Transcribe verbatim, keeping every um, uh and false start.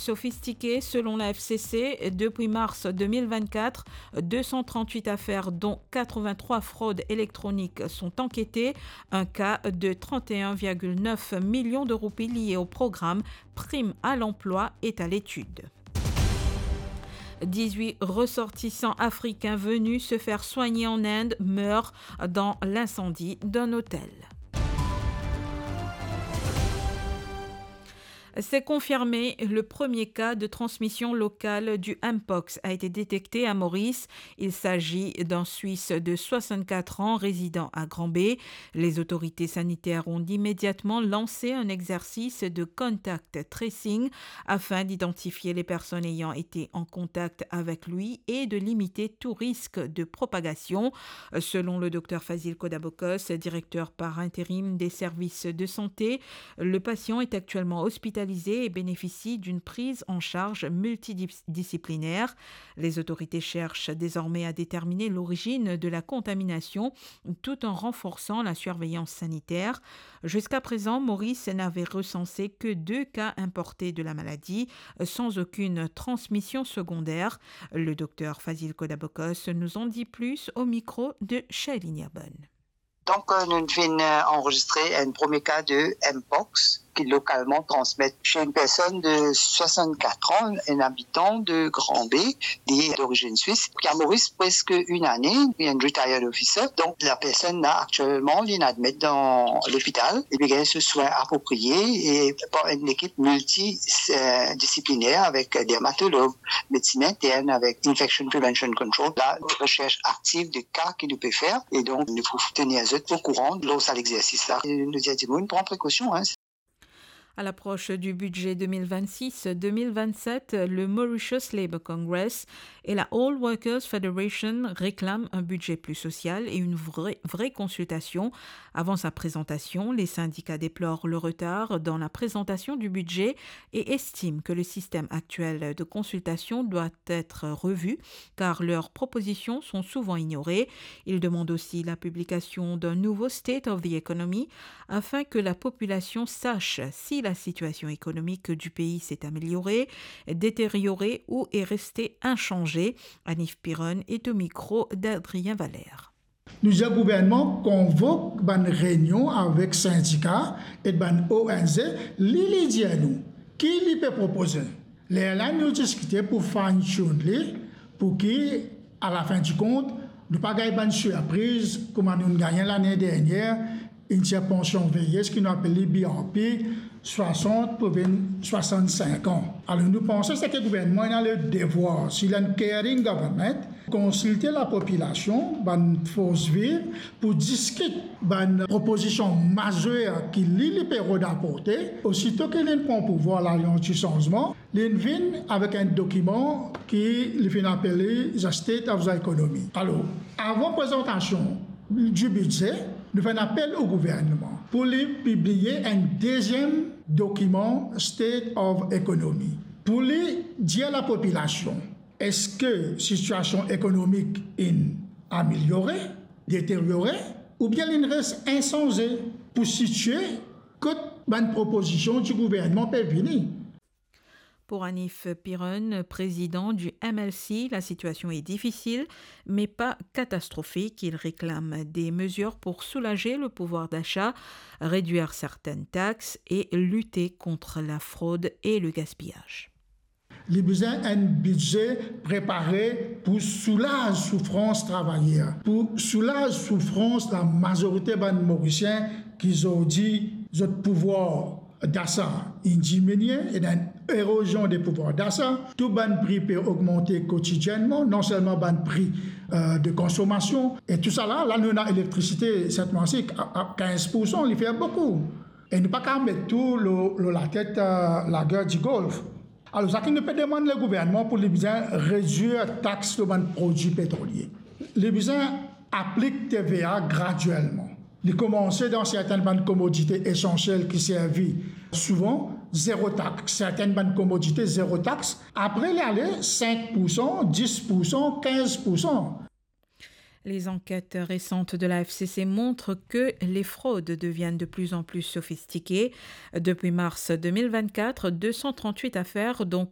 Sophistiqué, selon la F C C, depuis mars deux mille vingt-quatre, deux cent trente-huit affaires, dont quatre-vingt-trois fraudes électroniques, sont enquêtées. Un cas de trente et un virgule neuf millions de roupies lié au programme Prime à l'emploi est à l'étude. Dix-huit ressortissants africains venus se faire soigner en Inde meurent dans l'incendie d'un hôtel. C'est confirmé, le premier cas de transmission locale du Mpox a été détecté à Maurice. Il s'agit d'un Suisse de soixante-quatre ans résidant à Grand-Baie. Les autorités sanitaires ont immédiatement lancé un exercice de contact tracing afin d'identifier les personnes ayant été en contact avec lui et de limiter tout risque de propagation. Selon le docteur Fazil Kodabokos, directeur par intérim des services de santé, le patient est actuellement hospitalisé et bénéficie d'une prise en charge multidisciplinaire. Les autorités cherchent désormais à déterminer l'origine de la contamination tout en renforçant la surveillance sanitaire. Jusqu'à présent, Maurice n'avait recensé que deux cas importés de la maladie, sans aucune transmission secondaire. Le docteur Fazil Kodabokos nous en dit plus au micro de Shailin Irban. Donc, euh, nous venons enregistrer un premier cas de Mpox qui est localement transmis chez une personne de soixante-quatre ans, un habitant de Grand-Baie, li d'origine suisse, qui a Maurice presque une année, il est un retired officer. Donc, la personne là, actuellement, il est admis dans l'hôpital. Il reçoit les soins appropriés et par une équipe multidisciplinaire avec dermatologue, médecine interne, avec infection prevention control. La recherche active de cas ki nou pe fer, e donk nou pou tenir zot au courant lor sa lexersis la. E nou dir dimoun pran prekausion, hein. À l'approche du budget deux mille vingt-six deux mille vingt-sept, le Mauritius Labour Congress et la All Workers Federation réclament un budget plus social et une vraie, vraie consultation. Avant sa présentation, les syndicats déplorent le retard dans la présentation du budget et estiment que le système actuel de consultation doit être revu, car leurs propositions sont souvent ignorées. Ils demandent aussi la publication d'un nouveau State of the Economy afin que la population sache si la situation économique du pays s'est améliorée, détériorée ou est restée inchangée. Anif Piron est au micro d'Adrien Valère. Nou dir gouvernman konvok bann reynion avek sindika ek bann O N G, li, li dir nou ki li pe propoze. Lerla nou diskite pou fine tune li, pou ki, a la fin di kont, nou pa gagn bann sirpriz kouma nou gagne lane dernier, enn tir pansion veyez ki nou apel li B R P, swasant pou vinn swasannsink an. Alor, nou panse seki gouvernman ena le devwar, si li enn caring government, konsilte lapopilasion, bann fors viv, pou diskit bann propozision mazer ki li, li pe rod aporte. Osito ki li pran pouvwar, Lalians di Sanzman, li vinn avek enn dokiman ki li finn apel li The State of the Economy. Alor, avan prezantasion di bidze, nou fer enn apel o gouvernman pou li pibliye enn deziem dokiman State of Economy, pou li dir lapopilasion, eski sitiasion ekonomik inn ameliore, deteriore, oubien li res insanze, pou sitie kot bann propozision di gouvernman pe vini. Pour Anif Piron, président du M L C, la situation est difficile, mais pas catastrophique. Il réclame des mesures pour soulager le pouvoir d'achat, réduire certaines taxes et lutter contre la fraude et le gaspillage. Li bizin enn bidze prepare pou soulaz soufrans travayer, pou soulaz soufrans lamazorite bann Morisien ki zordi zot pouvwar dasa inn diminie, ena enn erozion de pouvwar dasa, tou bann pri pe ogmante kotidiennman, non selman bann pri, euh, de konsomasion, e tousala, la nou ena elektrisite, set mwa si, a, a kinz poursan, li fer boukou. E nou pa kav met tou lor, lor latet, euh, lager di Golf. Alor, seki nou pe demann le gouvernman pou li bizin redwir tax lor bann prodwi petrolie. Li bizin aplik T V A gradielman. Li koumanse dan sertenn bann komodite esansiel ki servi souvan, zero tax. Sertenn bann komodite, zero tax. Apre, li ale sink poursan, dis poursan, kinz poursan. Les enquêtes récentes de la F C C montrent que les fraudes deviennent de plus en plus sophistiquées. Depuis mars deux mille vingt-quatre, deux cent trente-huit affaires, dont